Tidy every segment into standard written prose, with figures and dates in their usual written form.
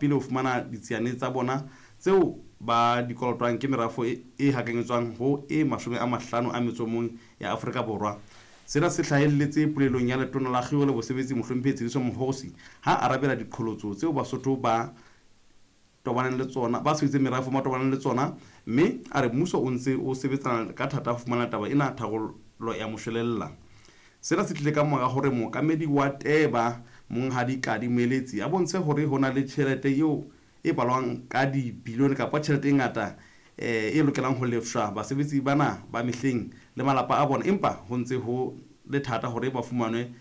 Le ho fumana ditsiane tsa bona tseo ba di kolotwang ke merafo e hakanyetswang ho e 51 ya Afrika Borwa. Sena se hlahelletse polelong ya Letona la Kgiro le Bosebetsi Mohlomphehi Tshediso Mokgosi ha a arabela diqholotso tseo Basotho ba tobaneng le tsona ba sebeditseng merafong ba tobaneng le tsona mme a re mmuso o ntse o sebetsana ka thata ho fumana taba ena tharollo ya moshwelella. Sena se tlile ka mora hore mookamedi wa TEBA, Monghadi Kadi Moeletsi, a bontshe hore ho na le tjhelete eo e balwang ka dibilione kapa tjhelete e ngata e lokelang ho lefshwa basebetsi bana ba mehleng le malapa a bona empa ho ntse ho le thata hore ba fumanwe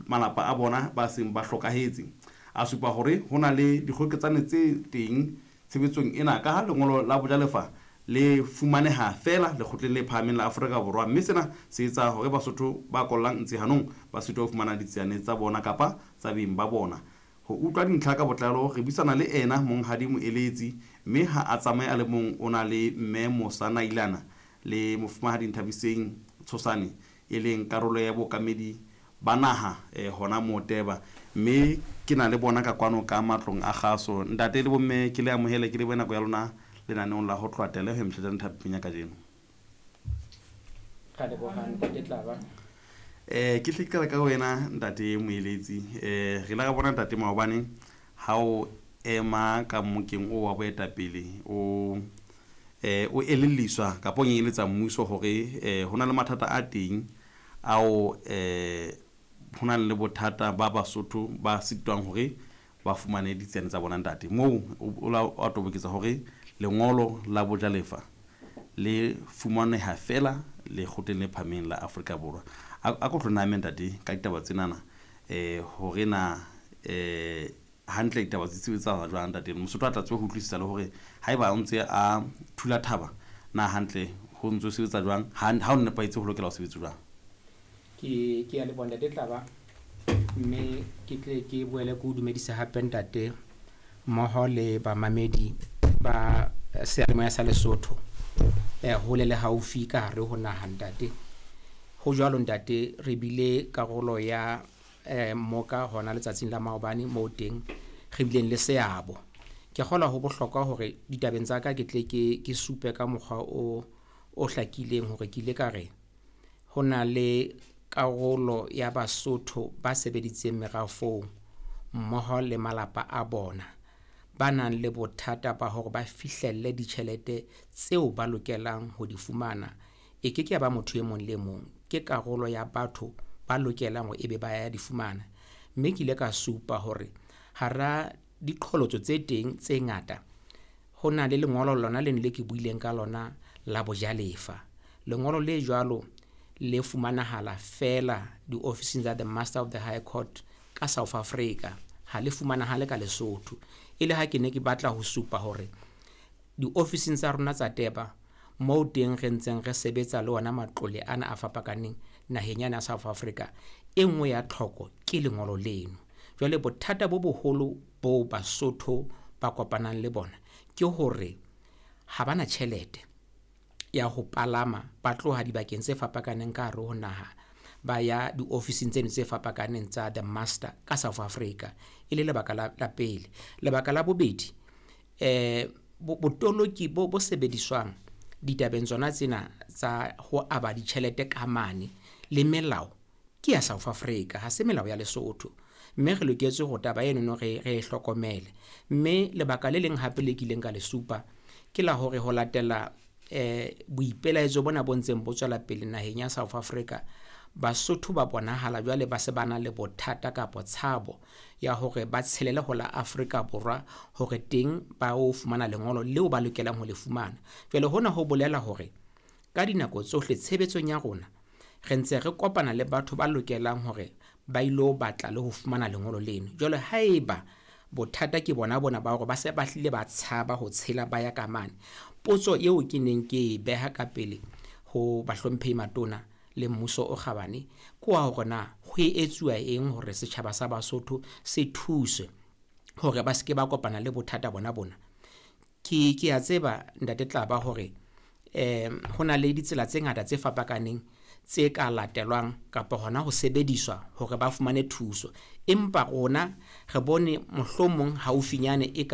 malapa a bona ba seng ba hlokahetse. A supa hore ho na le dikgoketsane tse teng tshebetsong ena kaha lengolo la bojalefa le fumaneha feela Lekgotleng le Phahameng la Afrika Borwa mme sena se etsa hore Basotho ba kollang ntsi hanong ba sitwe ho fumana ditsiane tsa bona kapa tsa beng ba bona. Ho utlwa dintlha ka botlalo re buisana le ena Monghadi Moeletsi mme ha a tsamaye a le mong o na le Mme Mosa Nailana le Mofumahadi Nthabiseng Tshosane e leng karolo ya bookamedi ba naha hona moo Teba, mme ke na le bona ka kwano ka matlong a kgaso. Ntate le bomme, ke le amohele, ke lebohe nako ya lona lenaneong la ho tloha Teleho Mthetjane thapeng ya kajeno. Ra leboha ntate Tlaba. Ke hle ke qala ka wena ntate Moeletsi. Re ile ra bona ntate maobane ha o ema ka mmokeng o wa boetapele o o elelliswa kapa o nyenyeletsa mmuso hore ho na le mathata a teng ao ho nang le bothata ba Basotho ba sitwang hore ba fumane ditsiane tsa bona ntate. Moo o la wa toboketsa hore lengolo la bojalefa le fumaneha feela Lekgotleng le Phahameng la Afrika Borwa. A ko tlo name ntate ka ditaba tsenana hore na hantle ditaba di sebetsahala jwang ntate. Mosotho a tla tsebe ho utlwisisa le hore haeba o ntse a thula thaba na hantle ho ntse ho sebetsa jwang, ha ho nepahetse ho lokela ho sebetsa jwang. Ke ya leboha ntate Tlaba, mme ke tle ke boele ke o dumedise hape ntate mmoho le bamamedi ba seyalemoya sa Lesotho hole le haufi ka hare ho naha ntate. Ho jwalo ntate, re bile karolo ya mmoka hona letsatsing la maobane moo teng re bileng le seabo. Ke kgolwa ho bohlokwa hore ditabeng tsa ka ke tle ke supe ka mokgwa o hlakileng hore ke ile ka re ho na le karolo ya Basotho ba sebeditseng merafong mmoho le malapa a bona ba nang le bothata ba hore ba fihlelle ditjhelete tseo ba lokelang ho di fumana. E ke ke ya ba motho e mong le mong, ke karolo ya batho ba lokelang hore ebe ba ya di fumana. Mme ke ile ka supa hore hara diqholotso tse teng tse ngata ho na le lengolo lona leno le ke buileng ka lona la bojalefa. Lengolo le jwalo le fumanahala feela diofising tsa the Master of the High Court ka South Africa, ha le fumanahale ka Lesotho. E le ha ke ne ke batla ho supa hore diofising tsa rona tsa Teba moo teng re ntseng re sebetsa le ona matlole ana a fapakaneng naheng yana ya South Africa, e nngwe ya tlhoko ke lengolo leno. Jwale bothata bo boholo bo Basotho ba kopanang le bona ke hore ha bana tjhelete ya ho palama ba tloha dibakeng tse fapakaneng ka hare ho naha ba ya diofising tseno tse fapakaneng tsa the Master ka South Africa, e le lebaka la pele. Lebaka la bobedi, botoloki bo sebediswang ditabeng tsona tsena tsa ho aba ditjhelete ka mane le melao ke ya South Africa, ha se melao ya Lesotho, mme re loketse hore taba enono re e hlokomele. Mme lebaka le leng hape le kileng ka le supa ke la hore ho latela boipelaetso bona bo ntseng bo tswela pele naheng ya South Africa, Basotho ba bonahala jwale ba se ba na le bothata kapa tshabo ya hore ba tshelele ho la Afrika Borwa hore teng ba o fumana lengolo leo ba lokelang ho le fumana. Jwale hona ho bolela hore ka dinako tsohle tshebetsong ya rona re ntse re kopana le batho ba lokelang hore ba ilo batla le ho fumana lengolo leno. Jwale haeba bothata ke bona bona ba hore ba se ba hlile ba tshaba ho tshela ba ya ka mane, potso eo ke neng ke e beha ka pele ho bahlomphehi matona le mmuso o kgabane ke wa hore na ho etsuwa eng hore setjhaba sa Basotho se thuswe hore ba se ke ba kopana le bothata bona bona. Ke a tseba ntate Tlaba hore ho na le ditsela tse ngata tse fapakaneng tse ka latelwang kapa hona ho sebediswa hore ba fumane thuso. Empa rona re bone mohlomong haufinyane e ka